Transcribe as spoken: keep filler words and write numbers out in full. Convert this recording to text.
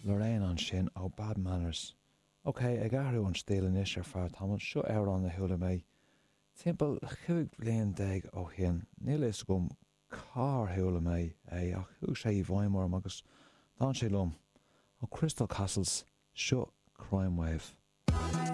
Lorraine ansin ó Bad Manners. Ok, ag athrú an stíl anois ar feadh tamaill seo amhrán a chuala mé timpeall cúig bliain déag ó shin. Níl a fhios agam cár chuala mé é ach chuaigh sé i bhfeidhm orm agus d'fhan sé liom. Ó Crystal Castles seo Crime Wave.